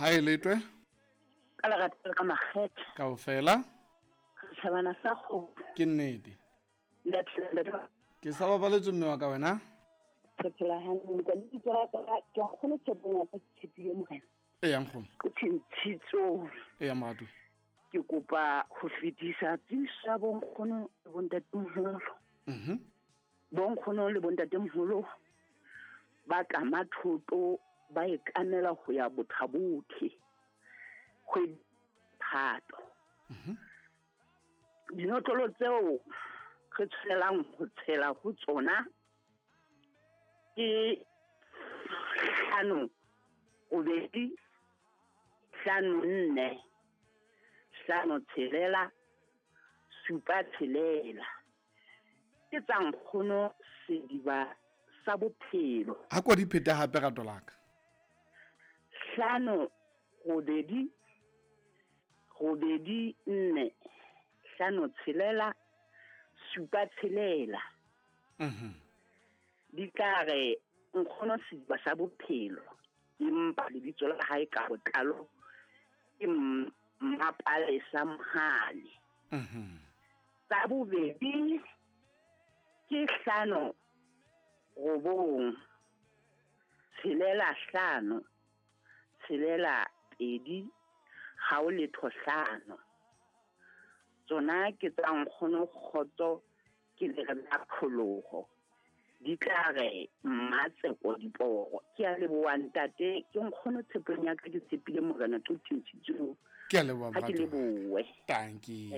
Ha e letwe. Ka lerato le ka makgethe. Kaofela. Setjhabana sa kgomo. Ke nnete. Le phela ntate. Ke sa bapaletswe mme wa ka wena. Re phela hantle. Ka lebitso la ka ke nkgono tshepong ya ka ke tshepile morena. Eya nkgono. Ke tshintshitsong. Eya moratuwa. Ke kopa ho fetisa tsebiso ya bonkgono le bontatemoholo. Bonkgono le bontatemoholo ba kama thoto ba e kamela ho ya Bothabothe kgwedi Phato. Dinotlolo tseo re tshwanelang ho tshela ho tsona ke 5 8 5 4 5 6 7 6. Ke tsa nkgono sediba sa bophelo. Ha ko di phete hape rato la ka. 5 8 8 4 5 6 7 6. Di tla re nkgono sediba sa bophelo empa lebitso la hae ka botlalo ke Mmapalesa Mohale. Tsa bobedi ke 5 9 6 5 6 2 0 5. Tsona ke tsa nkgono kgotso ke le re la pholoho. Di tla re Mmatseko Diporo. Ke a leboha ntate, ke nkgono tshepong ya ka ke tshepile morena Tshintshitsong. Ke a leboha Ha ke moratuwa. lebohe. Tanki.